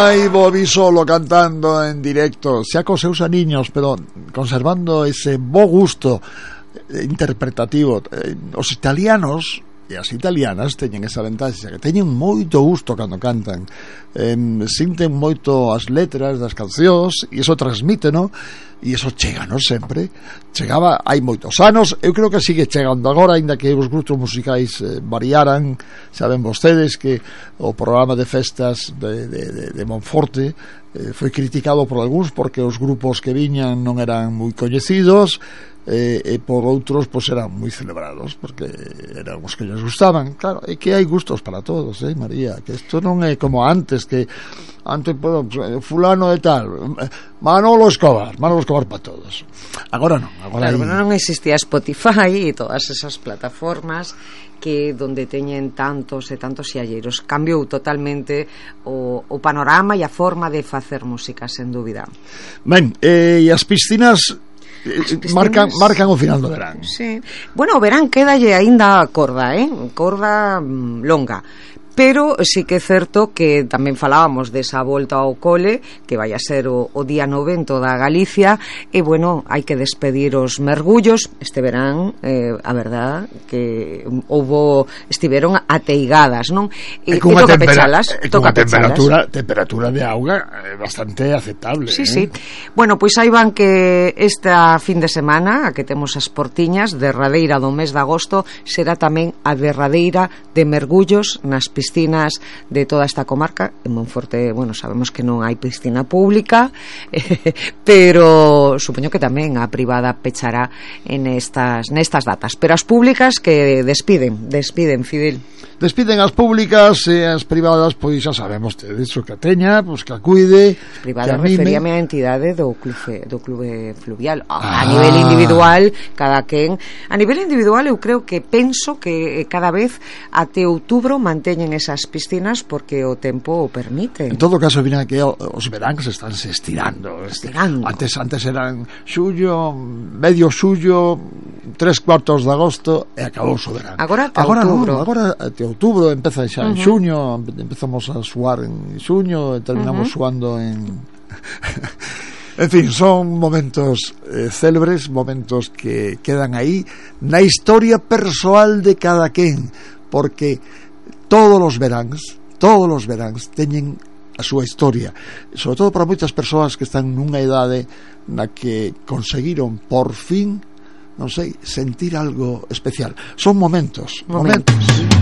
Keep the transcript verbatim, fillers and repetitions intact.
Aí vou vi solo cantando en directo, xa cos seus aniños, pero conservando ese bo gusto interpretativo. Os italianos e as italianas teñen esa ventaxa, que teñen moito gusto cando cantan, eh, sinten moito as letras das cancións e iso transmite, no? E iso chega, non sempre chegaba hai moitos anos, eu creo que sigue chegando agora, aínda que os grupos musicais eh, variaran. Saben vostedes que o programa de festas de, de, de, de Monforte eh, foi criticado por algúns porque os grupos que viñan non eran moi coñecidos, e, e por outros pois eran moi celebrados porque eran os que lles gustaban. Claro, é que hai gustos para todos, eh, María, que isto non é como antes, que antes, bueno, fulano de tal, Manolo Escobar, Manolo Escobar para todos. Agora non, agora claro, hai... non existía Spotify e todas esas plataformas que donde teñen tantos e tantos xalleiros. Cambiou totalmente o, o panorama e a forma de facer música, sen dúbida. Ben, eh, e as piscinas Piscinas... marcan marcan o final do verán. Sí. Bueno, o verán quédalle aínda corda, eh? Corda mm, longa. Pero sí que é certo que tamén falábamos desa volta ao cole, que vai a ser o, o día novento da Galicia, e bueno, hai que despedir os mergullos este verán, eh, a verdad que houbo, estiveron ateigadas, non? E, e toca tempera, pechalas, e toca temperatura, temperatura de auga eh, bastante aceptable. Sí, eh? sí. Bueno, pois aí van que esta fin de semana, a que temos as portiñas, derradeira do mes de agosto, será tamén a derradeira de mergullos nas piscinas piscinas de toda esta comarca. En Monforte, bueno, sabemos que non hai piscina pública, eh, pero supoño que tamén a privada pechará en estas nestas datas, pero as públicas que despiden, despiden, Fidel. Despiden as públicas e as privadas, pois xa sabemos tedes o que a teña, pois que a cuide. As privadas referíame á entidade do clube, do clube fluvial. A, ah. a nivel individual, cada quen, a nivel individual eu creo que penso que cada vez até outubro manteñen esas piscinas porque o tempo o permite. En todo caso, vina que os veráns están se estirando. Estirando. Antes antes eran xullo, medio xullo, tres cuartos de agosto e acabou o verán. Agora até agora outubro. Non, agora até outubro, empeza xa en uh -huh. xuño, empezamos a suar en xuño e terminamos uh -huh. suando en en fin, son momentos eh, célebres, momentos que quedan aí na historia persoal de cada quen, porque todos os veráns, todos os veráns teñen a súa historia, sobre todo para moitas persoas que están nunha idade na que conseguiron por fin, non sei, sentir algo especial. Son momentos, momentos. momentos.